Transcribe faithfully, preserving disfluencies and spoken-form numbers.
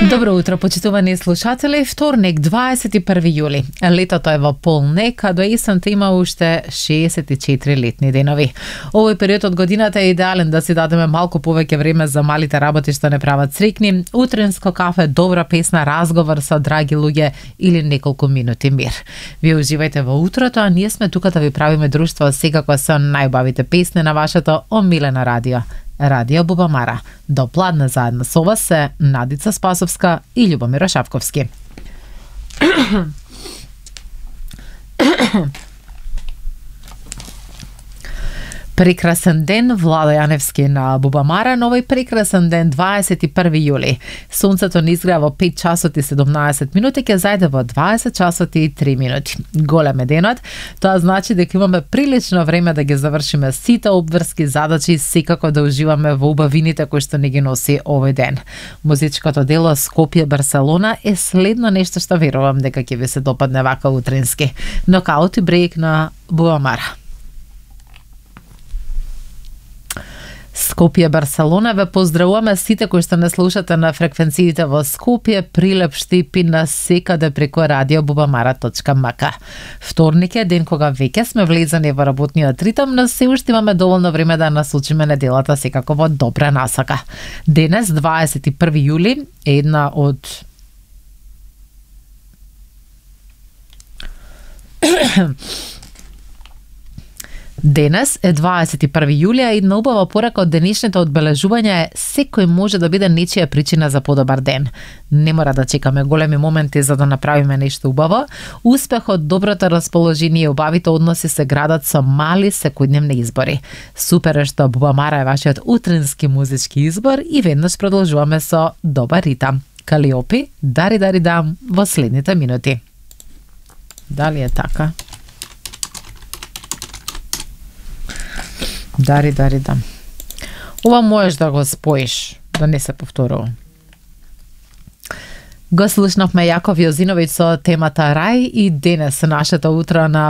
Добро утро, почитувани слушатели. Вторник, дваесет и први јули. Летото е во полнек, а до есента има уште шеесет и четири летни денови. Овој период од годината е идеален да си дадеме малку повеќе време за малите работи што не прават срекни, утренско кафе, добра песна, разговор со драги луѓе или неколку минути мир. Вие уживајте во утрото, а ние сме тука да ви правиме друштво секако со најубавите песни на вашето омилено радио. Радио Бубамара. До пладне заедно со вас се Надица Спасовска и Љубомир Шапковски. Прекрасен ден, Владо Јаневски на Бубамара, но овој прекрасен ден, дваесет и први јули. Сонцето ни изгрева во пет часот и седумнаесет минути, ќе зајде во дваесет часот и три минути. Голем е денот, тоа значи дека имаме прилично време да ги завршиме сите обврски задачи и секако да уживаме во убавините кои што не ги носи овој ден. Музичкото дело Скопје Барселона е следно нешто што верувам дека ќе ви се допадне вака утренски. Нокаут и брейк на Бубамара. Скопје Барселона, ве поздравуваме сите кои што не слушате на фреквенциите во Скопје, Прилеп, Штипин, на секаде преку радио бубамара точка ем ка. Вторник е ден кога веќе сме влезани во работниот ритм, но се уште имаме доволно време да насочиме неделата секако во добра насака. Денес, дваесет и први јули, е една од Денес е дваесет и први јули, а една убава порака од денешните одбележувања е секој може да биде нечија причина за подобар ден. Не мора да чекаме големи моменти за да направиме нешто убаво. Успехот, доброто расположение и убавите односи се градат со мали секојдневни избори. Супер е што Бубамара е вашиот утренски музички избор и веднаш продолжуваме со добар ритам. Калиопи, дари дари дам во следните минути. Дали е така? Дари, дари, да. Ова можеш да го споиш, да не се повторува. Го слушнавме Јаков Јозиновиќ со темата Рај и денес нашето утро на